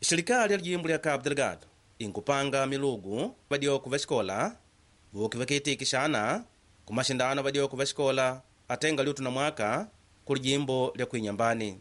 Serikali ya lijimbo lya Cabo Delgado inkupanga milugu vadioko va xikola vuki vakiitikixana ku maxindano vadioko va xikola atenga liutu na mwaka ku lijimbo lya kuinyambani.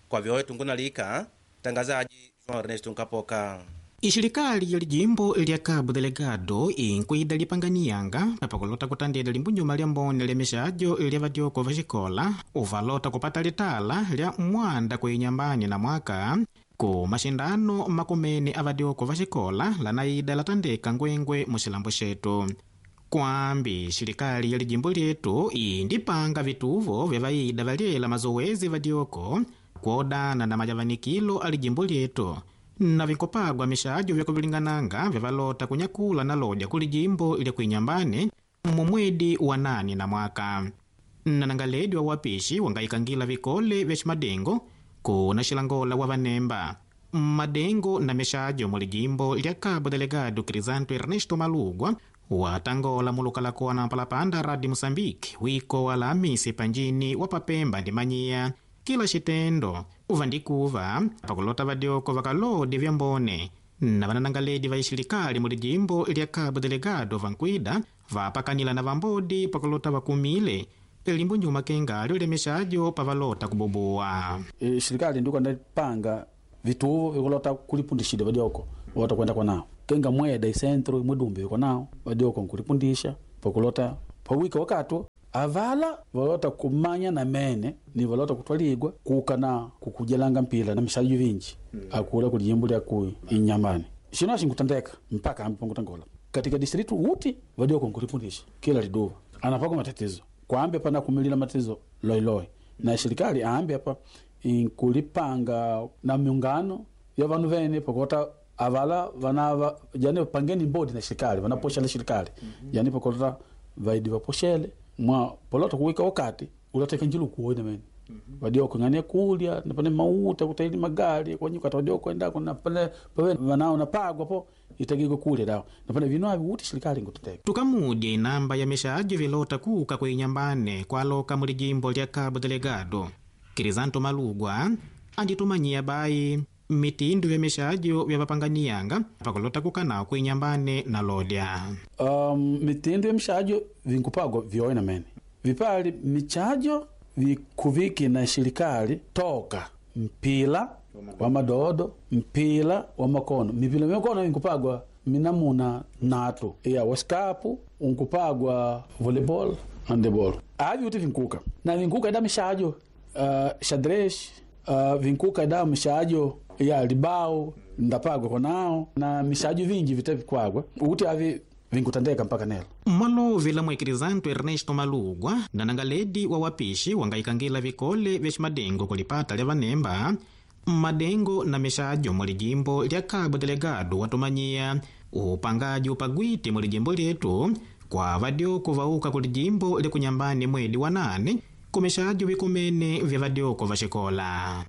Kwa vyoe tungunalika tangazaji João Ernesto Nkapoka. Ixilikaali ya lijimbo lya Cabo Delgado inkuida lipanganiyanga papakulota kutandela limbunyuma lya mbone lya mixadyo lya vadyoko va xikola uvalota kupata litala lya mwanda kuinyambani na mwaka ku maxindano makumene a vadyoko va xikola lanaida latandeka ngwengwe muxilambo xetu. Kwambi xilikali ya lijimbo lyetu indipanga vituvo vya vaida valyela mazowezi vadyoko kuodana na majavanikilo a lijimbo lyetu na vinkopagwa mixadyo vyakuvilingananga vyavalota kunyakula na lodya ku lijimbo lya kuinyambani mumwedi wa nani na mwaka. Nanangaledi wa wapishi wangayikangila vikole vya ximadengo kuna xilangola wa vanemba madengo na mixadyo mu lijimbo lya Cabo Delgado Crisanto Ernesto Malugwa watangola mulukala na mpalapanda Radi Moçambique wiko wa Alhamisi panjini wa Papemba ndi Manyiya kila xitendo uvandikuva pakulota vadyoko vakalodi vya mbone na vananangaledi va ixilikaali mu lijimbo lya Cabo Delgado vankuida vapakanila na vambodi pakulota vakumile limbu nyuma kengalyo lya mixadyo pavalota kububuwa. Serikali ndiko ndapanga vituvo vikulota kulipundishile vadyoko wota kwenda kwanao kenga mweda isentro mwidumbi viko nao vadyoko nkulipundisha pakulota pawika wakati avala valota kumanya na mene ni valota kutwaligwa kuka na kukujelanga mpila na mixadyo vinji akula kulijimbo lya ku inyambani xino xinkutandeka mpaka ambi pankutangola katika distritu uti vadyoko nkulipundisha kila liduva anapako matatizo kwambi pana kumilila matatizo loiloi na serikali aambi apa inkulipanga na miungano ya vanu vene pakota avala vanava yani pangeni mbodi na serikali vanaposhela serikali yani pakota vaidi vaposhele mwa polota kuwika wakati ulateka njilu kuone mene vadioko ngane kulya napane mauta kutaili magali kwanyukata vadioko endako napane pave vanao napagwa po itagiko kulya dawo napane vino avi uti serikali ngututeka tukamudya inamba ya mixadyo vilota kuka kuinyambane kwaloka mu lijimbo lya Cabo Delgado. Crisanto Malugwa anditumanyiya bayi mitindu ya mixadyo vya vapanganiyanga pakulota kukanao kuinyambane na lodya. Mitindo ya mixadyo vinkupagwa vyoe mene vipali michajo vikuviki na serikali toka mpila wa madodo mpila wa makono mipila mikono inkupagwa minamuna natu ya wasikapu unkupagwa volleyball handeball avi uti vinkuka na vinkuka ida mixadyo xadrez vinkuka ida mixadyo ya libao ndapagwa konao na mixadyo vinji vite vikwagwa uti avi vinkutandeka mpaka nelo Mmalovi la mwekirisanto Ernesto Malugwa nanangaledi wa wapishi wangayikangila vikole vya ximadengo kulipata lya vanemba madengo na mixadyo mu lijimbo lya Cabo Delgado watumanyiya upangaji upagwiti mu lijimbo lyetu kwa vadyoko vauka ku lijimbo lya kunyambani mwedi wa nane ku mixadyo vikumene vya vadyoko va xikola.